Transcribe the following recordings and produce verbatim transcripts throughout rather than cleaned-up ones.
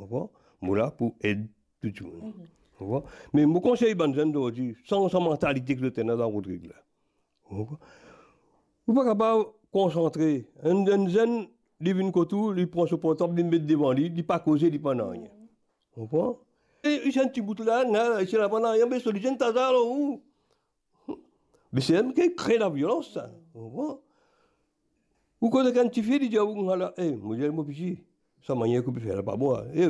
Konpran? Mo la pou ed tou dimoun. Konpran? Me mo konsey bann zenn zordi, sanz sa mantalite ki zot ena dan Rodrig la. Konpran? Ou pa kapav konsantre. Enn, enn zenn, li vinn kot ou, li pran so portab, li met devan li, li pa koze, li pa nanye. Konpran? E, li ti enn ti bout la, na, li ti la pa nanye, be so li ti enn taza lor ou. Be se li ki kre laviolans sa. Konpran? Ou koz ek enn tifi, li dir ou, "Ala, e, mo dir mo piti, sa manier ki ou pe fer la pa bon, e,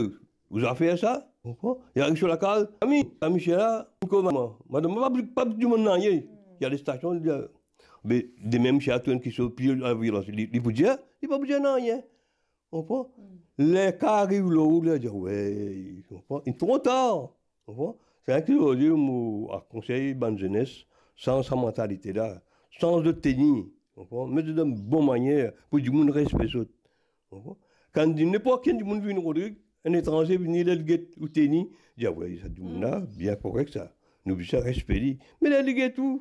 ou zafer sa?" Konpran? Li ariv so lakaz, "Ami, ami, se la, kouma, madam, pa, pa dimoun nanye." Li al stasion, li dir, be, demin, si ena enn kiksoz pli laviolans, li, li pou dir, li pa pou dir nanye. Konpran? Ler ka ariv lor ou, ler dir, we, konpran? Li tro tar. Konpran? Se sa ki zordi mo konsey bann zenes, sanz sa mantalite la, sanz zot teni, konpran? Met zot dan bon manier pou dimoun respe zot. Konpran? Kan dimoun, ninport ki dimoun vinn Rodrig, enn etranze vini, ler li get ou teni, dir, we, sa dimoun la, bien korek sa. Nou bizin respe li. Me ler li get ou,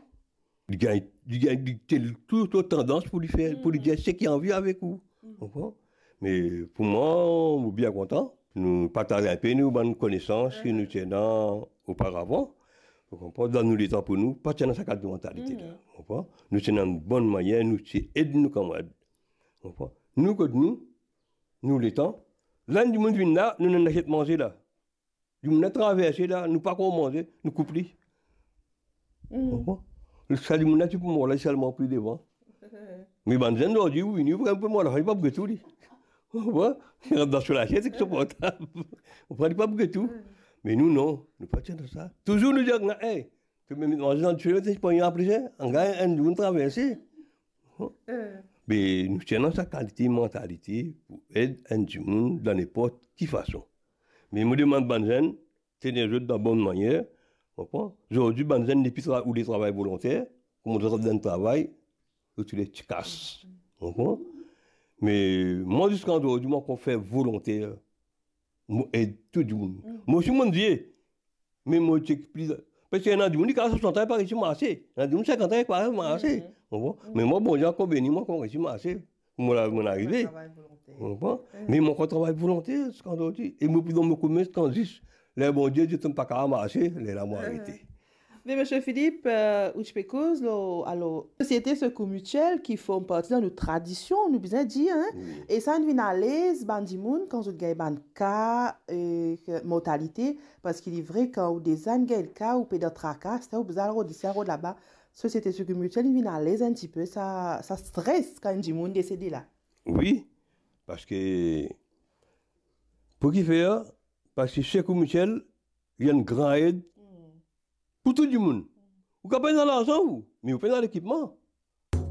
li gagn, li gagn, li tel tou, tou tandans pou li fer, pou li dir seki anvi avek ou. Konpran? Me pou mwa, mo bien kontan. Nou partaz inpe nou bann konesans ki nou ti ena oparavan. Ou konpran? Dan nou letan pou nou, pa ti ena sa kalite mantalite la. Konpran? Nou ti ena enn bonn manier, nou ti ed nou kamarad. Konpran? Nou kot nou, nou letan, la enn dimoun vinn la, nou ena asiet manze la. Dimoun la traverse la, nou pa ankor manze, nou koup li. Konpran? Sa dimoun la ti pou mor la, li selman pli devan. Me bann zenn zordi, ou vini, ou pran pou mor la, li pa pou get ou li. Konpran? Li rant dan so lasiet ek so portab. Konpran? Li pa pou get ou. Me nou non, nou pa ti ena sa. Touzour nou dir, e, to mem manze dan dife, to pran apre sa, angar enn dimoun traverse. Be nou ti ena sa kalite mantalite pou ed enn dimoun dan ninport ki fason. Me mo demann bann zenn, teni zot dan bonn manier, konpran? Zordi bann zenn, depi tra-, ou le travay volonter, kouma zot rant dan travay, zot le ti kas, konpran? Me mwa ziska zordi, mo ankor fer volonter, mo ed tou dimoun. Mo osi mo enn vie, me mo ti pli, parski ena dimoun ki a swasant an, pa resi marse. Ena dimoun sinkant an, pa resi marse. Konpran? Me mwa, Bondie ankor beni mwa, ankor resi marse. Mo la, mo arive. Travay volonter. Konpran? Me mo ankor travay volonter ziska zordi. E mo pli dan mo koumès ziska zis. Ler Bondie dir to pa kapav marse, lerla mo arete. Me Misie Philippe, euh, ou ti pe koz lor, alor, Sosiete Secours Mutuel ki form parti dan nou tradision, nou bizin dir, hein? Wi. E sa inn vinn alez bann dimoun kan zot gagn bann ka, euh, mortalite, parski li vre, kan ou deza inn gagn ka, ou pe dan traka, sa ou bizin al rod isi, al rod laba. Sosiete Secours Mutuel inn vinn alez enn tipe sa, sa stres kan enn dimoun desede la. Wi, parski pou kifer? Parski Secours Mutuel, li enn gran ed pou tou dimoun. Ou kapav pena larzan ou, me ou pena lekipman.